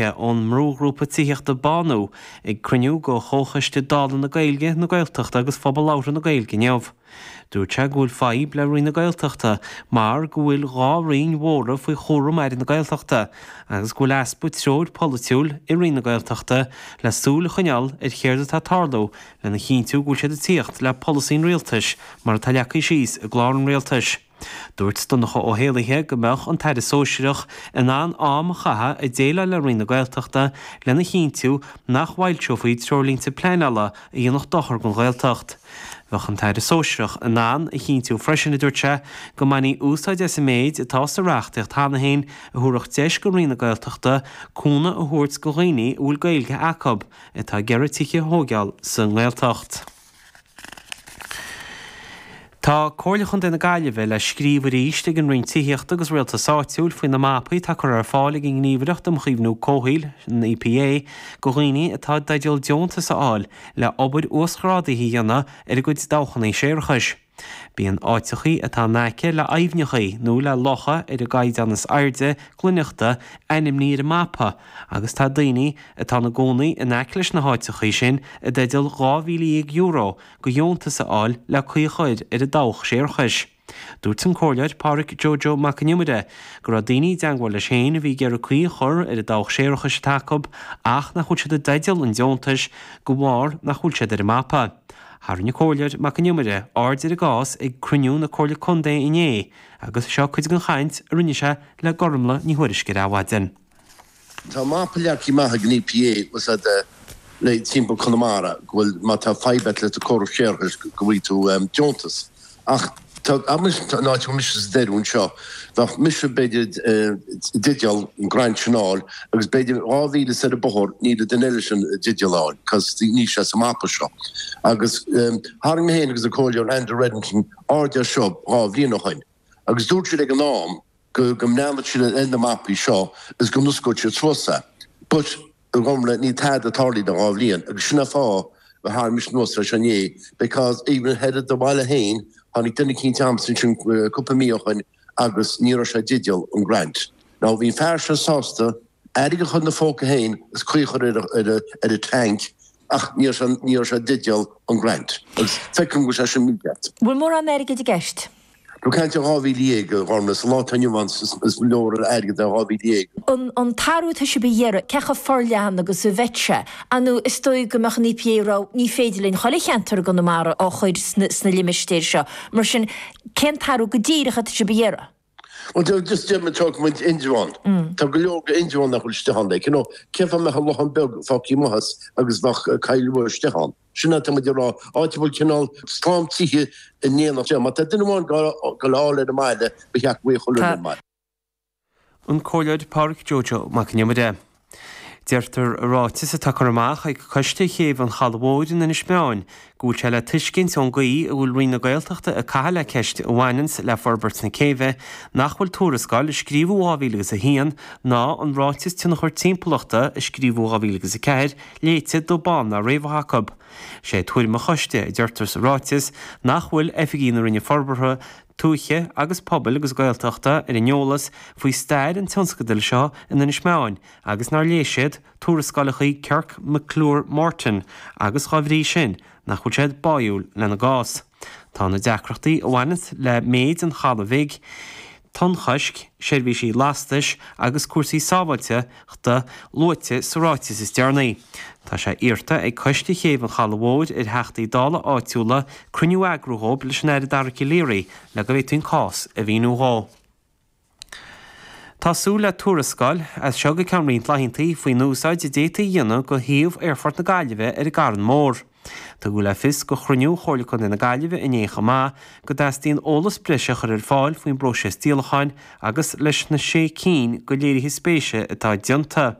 Ón mbrúghrúpa tithíochta Bánú ag cruinniú de Chomhchoiste Dála na Gaeilge, na Gaeltachta agus Phobal Labhartha na Gaeilge inniu. Dúirt sé go bhfuil fadhb le Roinn na Gaeltachta mar go bhfuil 2 roinn mhóra faoi chúram Aire na Gaeltachta agus go bhfuil easpa treoir pholaitiúil i Roinn na Gaeltachta le súil a choinneáil ar chéard atá ag tarlú lena chinntiú go bhfuil siad ag tíocht le polasaí an Rialtais mar atá leagtha síos i gclár an Rialtais. Dúirt Donncha Ó hÉallaithe go mbeadh an tAire Sóisearach in ann am a chaitheamh ag déileáil le Roinn na Gaeltachta lena chinntiú nach bhfoilseofaí treoirlínte pleanála a dhéanfadh dochar don Ghaeltacht. Bheadh an tAire Sóisearach in ann a chinntiú freisin, a dúirt sé, go mbainfí úsáid as an méid atá sa reachtaíocht cheana féin a thabharfadh deis do Roinn na Gaeltachta cúnamh a thabhairt do dhaoine a bhfuil Gaeilge acu atá ag iarraidh tithe a thóigeáil sa nGaeltacht. Tá Comhairle Chontae na Gaillimhe le scríobh arís ag an Roinn Tithíochta agus Rialtais Áitiúil faoi na mapaí atá curtha ar fáil ag an nGníomhaireacht um Chaomhnú Comhshaoil, an EPA, do dhaoine atá i dteideal deontas a fháil le obair uasghrádaithe a dhéanamh ar a gcuid dabhchanna séarachais. Bíonn áiteachaí atá in aice le aibhneachaí nó le locha ar an gcaighdeán is airde glaineachta ainmnithe ar an mapa agus tá daoine atá ina gcónaí in aice leis na háiteachaí sin i dteideal €12,000 de dheontas a fháil le caoi a chur ar a dabhach séarachais. Dúirt an Comhairleoir Pádraic Joe Joe Mac an Iomaire go raibh daoine i dteangmháil leis féin a bhí ag iarraidh caoi a chur ar an dabhach séarachais atá acu ach nach bhfuil siad i dteideal an deontais de bharr nach bhfuil siad ar an mapa. Tharraing an Comhairleoir Mac an Iomaire aird ar an gcás ag cruinniú na Comhairle Contae inné agus seo cuid den chaint a rinne sé le Gormlaith Ní Thuairisg ar Adhmhaidin. Tá mapa leagtha amach ag an EPA le timpeall Conamara go bhfuil má tá fadhb agat le do córas séarachais go bhfaighidh tú deontas. Ach tá an áit a bhfuil mise sa deireadh anseo, bheadh mise b'fhéidir i dteideal an grant sin a fháil agus b'fhéidir 2,000 soir an bóthar níl an duine eile sin i dteideal a fháil cos níl sé sa mapa seo. Agus tharraing mé féin agus an Comhairleoir Andrew Reddington aird air seo 2 bhliain ó shoin agus dúirt siad ag an am go go mbreathnódh siad ar na mapaí seo is go n-osclódh siad suas é. But, a Ghormlaith, níl tada tarlaithe le 2 bhliain agus sin an fáth a tharraing mise anuas é seo inné because even thoir i do bhaile féin tháinig duine eicínt a'msa ansin cúpla mí ó shoin agus ní raibh sé i dteideal an grant. Now bhí an fear seo sásta airgead a chur ina phóca féin is caoi a chur ar a ar a tank ach ní raibh sé ní raibh sé i dteideal an grant agus feicim go bhfuil sé sin mícheart. Bhfuil mórán airgid i gceist? Tá caint ar 12,000, a Ghormlaith, sa lá atá inniu ann is leor airgead é 12,000. An t-athrú atá sibh a iarraidh, cé chomh forleathan agus a bheidh sé? Ar ndóigh, is dóigh go mbeadh an EPA ag rá, ní féidir linn chuile cheantar i gConamara a chur sna limistéir seo. Mar sin, cén t-athrú go díreach atá sibh a iarraidh? Bhuel, just deir muid, tógfaidh muid Indreabhán. Tá go leor go Indreabhán nach bhfuil istigh ann, like, you know, cén fáth a mbeadh an Lochán Beag fágtha amuigh as agus bheadh Coill Rua istigh ann? Sin atá muid ag rá, áit a bhfuil cineál slám tithe in éineacht. Má tá duine amháin ag goil a fháil ar an mbaile, ba cheart go bhfaigheadh chuile dhuine ar an mbaile. An Comhairleoir Pádraic Joe Joe Mac an Iomaire. Deirtear i ráiteas atá curtha amach ag Coiste Chéibh an Chalaidh Mhóir in Inis Meáin go bhfuil sé le tuiscint ón gcaoi a bhfuil Roinn na Gaeltachta ag caitheamh le ceist a bhaineanns le forbairt na céibhe nach bhfuil tuarascáil a scríobhadh 2001 ná an Ráiteas Tionchar Timpeallachta a scríobhadh 2004 léite dubh bán ná riabhach acu. Sé tuairim an choiste, a deirtear sa ráiteas, nach bhfuil oifigigh na Roinne Forbartha Tuaithe agus Pobail agus Gaeltachta ar an eolas faoi stair an tionscadail seo in Inis Meáin agus nár léigh siad tuarascálacha Kirk McClure Morton agus dá bhrí sin nach bhfuil siad báúil lena gcás. Tá na deacrachtaí a bhaineanns le méid an chalaidh bhig, tonnchoisc, seirbhísí lastais agus cúrsaí sábháilteachta luaite sa ráiteas is deireanaí. Tá sé iarrta ag Coiste Chéibh an Chalaidh Mhóir ar Theachtaí Dála áitiúla cruinniú a eagrú dhóibh leis an Aire Dara Calleary le go bhféadfaí an cás a mhíniú dhó. Tá súil le tuarascáil as seo go ceann roinnt laethanta faoin úsáid a d'fhéadfaí a dhéanamh de shuíomh Aerfort na Gaillimhe ar an gCarn Mór. Tugadh le fios go chruinniú Chomhairle Contae na Gaillimhe inné chomh maith go dteastaíonn eolas breise a chur ar fáil faoin bpróiseas díolacháin agus leis na sé cinn de léirithe spéise atá déanta.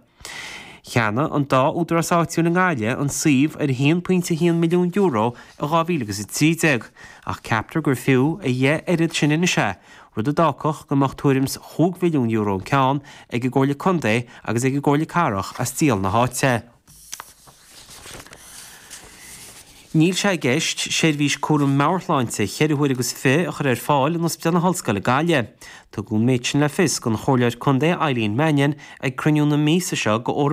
Cheannaigh an dá údarás áitiúil i nGaillimh an suíomh ar €1.1 milliún i 2013 ach ceaptar gur fiú a dheich oiread sin anois é, rud a d'fhágfadh go mbeadh tuairim 's chúig mhilliún euro an ceann ag an gComhairle Contae agus ag an gComhairle Cathrach as díol na háite. Níl sé i gceist seirbhís cúram meabhairshláinte cheithre huaire agus fi a chur ar fáil in Ospidéal na hOllscoile Gaillimh. Tugadh an méid sin le fios don Chomhairleoir Contae Eileen Mannion ag cruinniú na míosa seo go.